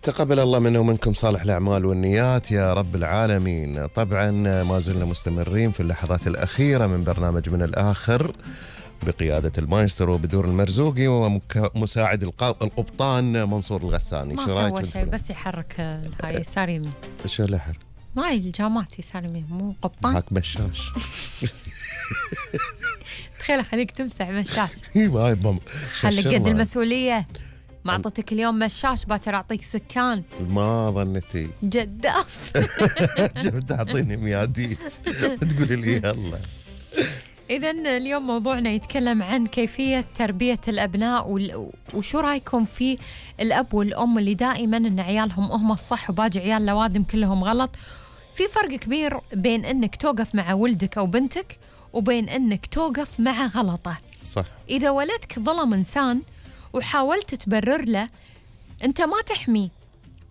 تقبل الله منا ومنكم صالح الأعمال والنيات يا رب العالمين. طبعا ما زلنا مستمرين في اللحظات الأخيرة من برنامج من الآخر بقيادة المايسترو بدور المرزوقي ومساعد القبطان منصور الغساني. ما سوى شيء بس يحرك هاي يسار يمين. شو اللي يحرك؟ ما هي الجامات يسار يمين مو قبطان. هاك مشاش. تخيل خليك تمسح مشاش. خليك قد المسؤولية. ما أعطيتك اليوم مشاش باكر أعطيك سكان. ما ظنتي جداف. جبت أعطيني مياديف تقولي لي يلا. إذن اليوم موضوعنا يتكلم عن كيفية تربية الأبناء وشو رأيكم في الأب والأم اللي دائما إن عيالهم هم الصح وباقي عيال لوادم كلهم غلط. في فرق كبير بين إنك توقف مع ولدك أو بنتك وبين إنك توقف مع غلطه. صح. إذا ولدك ظلم إنسان وحاولت تبرر له، أنت ما تحميه،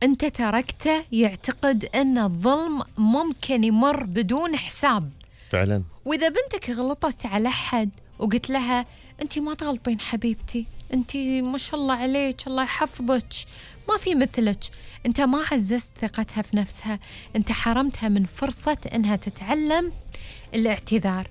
أنت تركته يعتقد أن الظلم ممكن يمر بدون حساب فعلا. وإذا بنتك غلطت على حد وقلت لها أنت ما تغلطين حبيبتي، أنت ما شاء الله عليك الله يحفظك ما في مثلك، أنت ما عززت ثقتها في نفسها، أنت حرمتها من فرصة أنها تتعلم الاعتذار.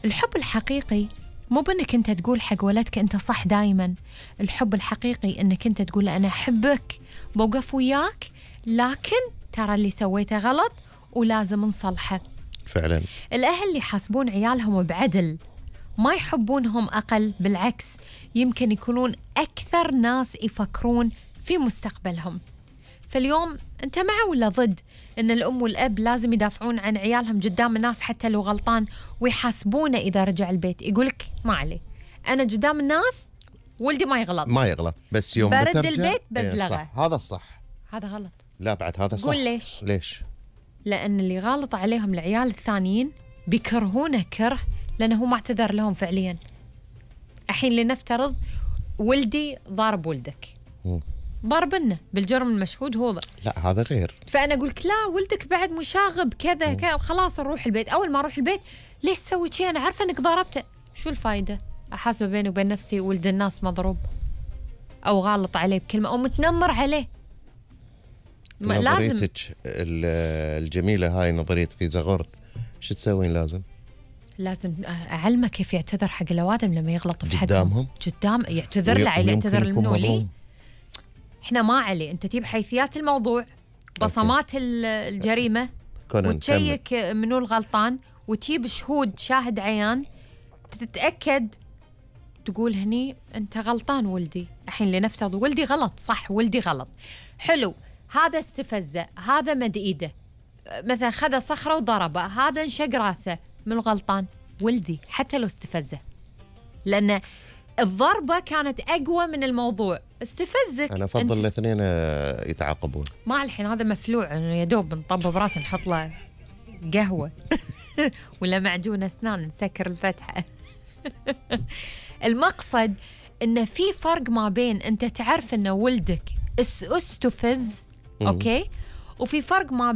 الحب الحقيقي مو بأنك أنت تقول حق ولدك أنت صح دايما، الحب الحقيقي أنك أنت تقول له أنا أحبك بوقف وياك لكن ترى اللي سويته غلط ولازم نصلحه. فعلا. الأهل اللي يحاسبون عيالهم بعدل ما يحبونهم أقل، بالعكس يمكن يكونون أكثر ناس يفكرون في مستقبلهم. فاليوم أنت مع ولا ضد إن الأم والأب لازم يدافعون عن عيالهم قدام الناس حتى لو غلطان ويحاسبونه إذا رجع البيت؟ يقولك ما عليه أنا قدام الناس ولدي ما يغلط بس يوم برد بترجع البيت بزلغه. صح. هذا الصح. هذا غلط. لا بعد هذا صح. قول ليش؟ لأن اللي غالط عليهم العيال الثانيين بيكرهونه كره لأنه هو ما اعتذر لهم فعليا. الحين لنفترض ولدي ضارب ولدك، ضربنا بالجرم المشهود هو لا هذا غير. فأنا أقولك لا ولدك بعد مشاغب كذا خلاص نروح البيت. أول ما أروح البيت ليش سويت شيء أنا عارفة أنك ضربته، شو الفايدة؟ أحاسبه بيني وبين نفسي ولد الناس مضروب أو غالط عليه بكلمة أو متنمر عليه. نظريتك الجميلة هاي نظرية بيتزا غورت شو تسوين؟ لازم أعلمه كيف يعتذر حق الأوادم لما يغلط في قدامهم قدام يعتذر له يعتذر لمنو لي. إحنا ما علي أنت تجيب حيثيات الموضوع بصمات الجريمة وتشيك منو الغلطان وتجيب شهود شاهد عيان تتأكد تقول هني أنت غلطان ولدي. الحين لنفترض ولدي غلط صح ولدي غلط حلو، هذا استفزه هذا مد ايده مثلا خذ صخرة وضربه هذا انشق راسه، من الغلطان؟ ولدي حتى لو استفزه لأن الضربة كانت أقوى من الموضوع. استفزك أنا أفضل الاثنين يتعاقبون. ما الحين هذا مفلوع إنه يا دوب نطبب راسه نحط له قهوة ولا معجون أسنان نسكر الفتحة. المقصد إنه في فرق ما بين أنت تعرف إنه ولدك استفز أوكي وفي فرق ما